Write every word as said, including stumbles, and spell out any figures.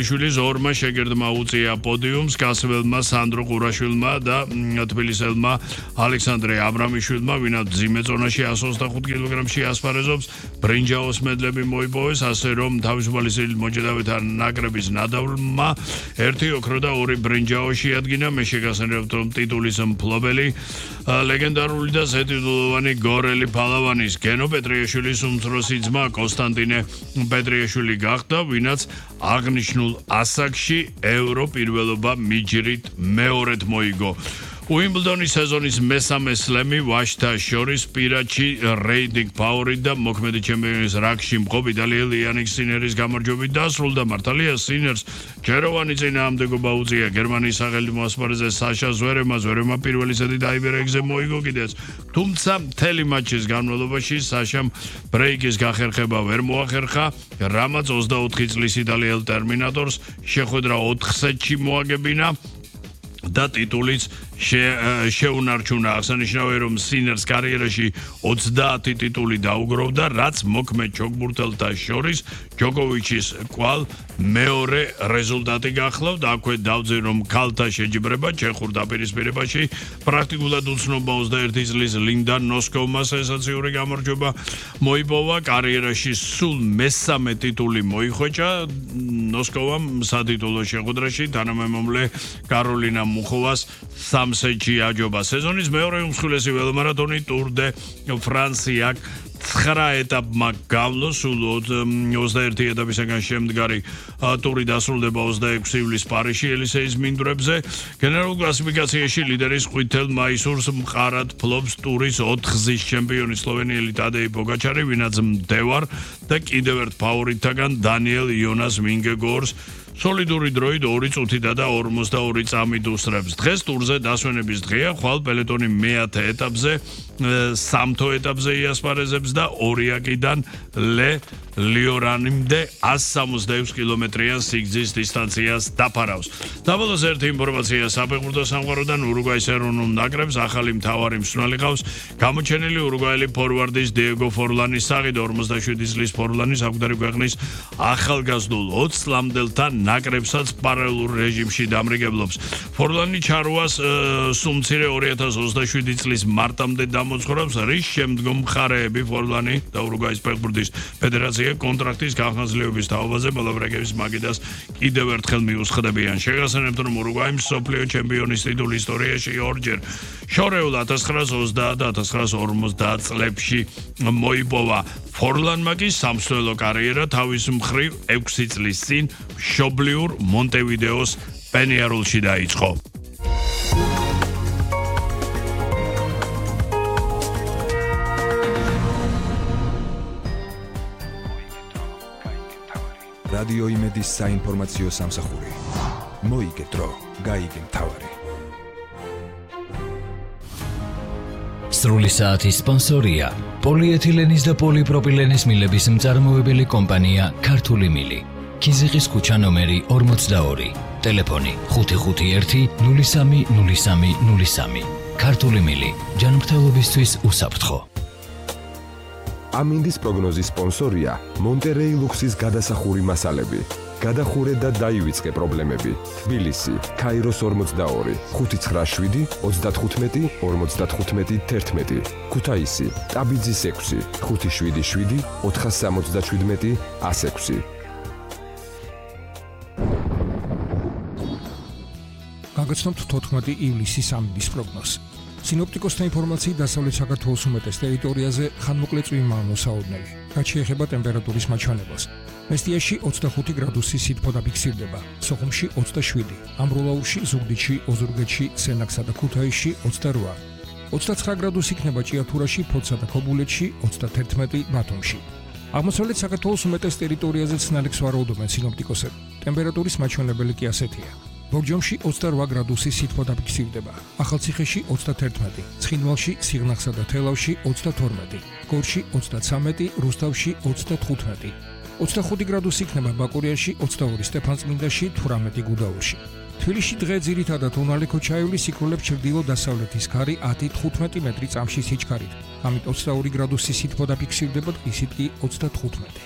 შვილის ორმა შეგირდმა უწია პოდიუმს გასველმა სანდრო ყურაშვილმა და თბილისელმა ალექსანდრე აბრამიშვილმა, ვინაც მძიმე ზონაში εκατს ოცდახუთ კილოგრამში ასპარეზობს, ბრინჯაოს მედლები მოიპოვეს, ასე რომ თავისუფალი სილის მოჭედავეთა ნაკრების ნადავლმა ერთი ოქრო და ორი ბრინჯაო შეადგინა. მე შეგახსენებთ, რომ ტიტულის მფლობელი ლეგენდარული და ზედიტულოვანი გორელი ფალავანის გენო პეტრიაშვილის უმცროსი ძმა კონსტანტინე პეტრიაშვილი გახდა, ვინაც აღნიშნულ ასაკში ევრო პირველობა მიჯრით მეორედ მოიგო. უიმბლდონის სეზონის მესამე სლემი ვაჟთა შორის პირადში რეიტინგ ფავორიტ და მოქმედი ჩემპიონის რანგში მყოფ იტალიელი იანიკ სინერის გამარჯვებით დასრულდა. მართალია სინერს ჯეროვანი წინააღმდეგობა უწია გერმანიის სახელმწიფო ასპარეზზე საშა ზვერემა. ზვერემა პირველი სეტი დაიბერეგზე მოიგო კიდეც, თუმცა მთელი მატჩის განმავლობაში საშამ ბრეიკის გახერხება ვერ მოახერხა, რამაც ოცდაოთხი წლის იტალიელ ტერმინატორს შეხვედრა ოთხ სეტში მოაგებინა და ტიტულიც შეუნარჩუნა. აღსანიშნავია, რომ სინერს კარიერაში ოცდაათი ტიტული დაუგროვდა, რაც მოქმედ ჩოგბურთელთა შორის ჯოკოვიჩის კვალ მეორე რეზულტატი გახლავთ. აქვე დავძე, რომ ქალთა შეჯიბრება ჩეხურ დაპირისპირებაში პრაქტიკულად უცნობა ოცდაერთი წლის ლინდა ნოსკოვმა სენსაციური გამარჯვება მოიპოვა. კარიერაში სულ მესამე ტიტული მოიხვეჭა ნოსკოვამ სატიტულო შეხვედრაში თანამემამლე კაროლინა მუხოვას სეტში აჯობა. სეზონის მეორე უმსხვილესი ველომარათონი ტურ დე ფრანსია ცხრა ეტაპმა გავლო, სულ ოცდაერთი ეტაპისაგან შემდგარი ტური დასრულდება ოცდაექვსი ივლისს პარიზში ელისეის მინდვრებზე. გენერალურ კლასიფიკაციაში ლიდერის ყვითელ მაისურს მყარად ფლობს ტურის ოთხგზის ჩემპიონი სლოვენიელი ტადეი პოგაჩარი, ვინაც მდევარ და კიდევ ერთ ფავორიტთაგან დანიელ იონას ვინგეგორს სოლიდური დროით ორი წუთითა და ორმოცდაორი წამით უსწრებს. დღეს ტურზე დასვენების დღეა, ხვალ პელეტონი მეათე ეტაპზე, სამთო ეტაპზე იასპარეზებს და ორიაკიდან ლე ლიორანიმდე εκατს სამოცდაექვსი კილომეტრიან სიგრძის დისტანციას დაფარავს. დაბოლოს ერთი ინფორმაცია საფეხბურთო სამყაროდან. ურუგვაის ეროვნულ ნაკრებს ახალი მთავარი მსვლელი ყავს, გამოჩენილი ურუგვაელი ფორვარდის დიეგო ფორლანის სახით. ორმოცდაშვიდი წლის ფორლანი საკუთარი ქვეყნის ახალგაზრდულ ოცს წლამდელთან ნაკრებსაც პარალელურ რეჟიმში დამრიგებლობს. ფორლანი ჩარვას სულ მცირე ორი ათას ოცდაშვიდი წლის მარტამდე დამოძღვრავს, რის შემდგომ მხარეები ფორლანი და ურუგვაის ფეხბურთის ფედერაცია კონტრაქტის განხორციელების თაობაზე მოლაპარაკების მაგიდას კიდევ ერთხელ მიუსხდებიან. შეგახსენებთ, რომ ურუგვაიმ მსოფლიო ჩემპიონის ტიტული ისტორიაში ორჯერ შორეულ ათას ცხრაას ოცდაათ და ათას ცხრაას ორმოცდაათ წლებში მოიპოვა. ფორლანმა კი სამსვლელო კარიერა თავის მხრივ ექვსი წლის წინ მშობლიურ მონტევიდეოს პენიარულში დაიწყო. რადიო იმედის საინფორმაციო სამსახური. მოიგე დრო, გაიგე მთავარი. სრული საათის სპონსორია პოლიეთილენის და პოლიპროპილენის მილების მწარმოებელი კომპანია ქართული მილი. ქიზიყის ქუჩა ნომერი ორმოცდაორი. ტელეფონი ხუთი ხუთი ერთი ნული სამი ნული სამი ნული სამი. ქართული მილი. ჯანმრთელობისთვის უსაფრთხო. ამინდის პროგნოზის სპონსორია მონტერეი ლუქსის გადასახური მასალები. გადახურე და დაივიწყე პრობლემები. თბილისი, ქაიროს ორმოცდაორი, ხუთი ცხრა შვიდი ოცდათხუთმეტი ორმოცდათხუთმეტი თერთმეტი. ქუთაისი, ტაბიძის ექვსი, ხუთი შვიდი შვიდი ოთხას სამოცდაშვიდმეტი ას ექვსი. გაგაცნობთ თოთხმეტი ივლისის ამინდის პროგნოზს. სინოპტიკოსთა ინფორმაციით დასავლეთ საქართველოს უმეტეს ტერიტორიაზე ხანმოკლე წვიმა მოსაოდნელი, რაც შეეხება ტემპერატურის მაჩვენებელს. მესტიაში ოცდახუთი გრადუსი სითბო დაფიქსირდება, სოხუმში ოცდაშვიდი, ამბროლაურში, ზუგდიდში, ოზურგეთში, სენაკსა და ქუთაისში ოცდარვა, ოცდაცხრა გრადუსი იქნება ჭიათურაში, ფოთსა და ქობულეთში, ოცდათერთმეტი ბათუმში. აღმოსავლეთ საქართველოს უმეტეს ტერიტორიაზე ცნარებს ვარაუდობენ სინოპტიკოსები. ტემპერატურის მაჩვენებელი კი ასეთია. ბორჯომში ოცდარვა გრადუსი სითბო დაფიქსირდება, ახალციხეში ოცდათერთმეტი, ცხინვალში, სიღნაღსა და თელავში ოცდათორმეტი, გორში ოცდაცამეტი, რუსთავში ოცდათხუთმეტი, ოცდახუთი გრადუსი იქნება ბაკურიაში, ოცდაორი სტეფანწმინდაში, თვრამეტი გუდაურში. თბილისში დღე ძირითადად უნალე ქოჩაევლის სიკვდილებს ჩრდილო-დასავლეთის ქარი ათი თხუთმეტი მეტრი წამში სიჩქარით. ამით ოცდაორი გრადუსი სითბო დაფიქსირდება, ისიც კი ოცდათხუთმეტი.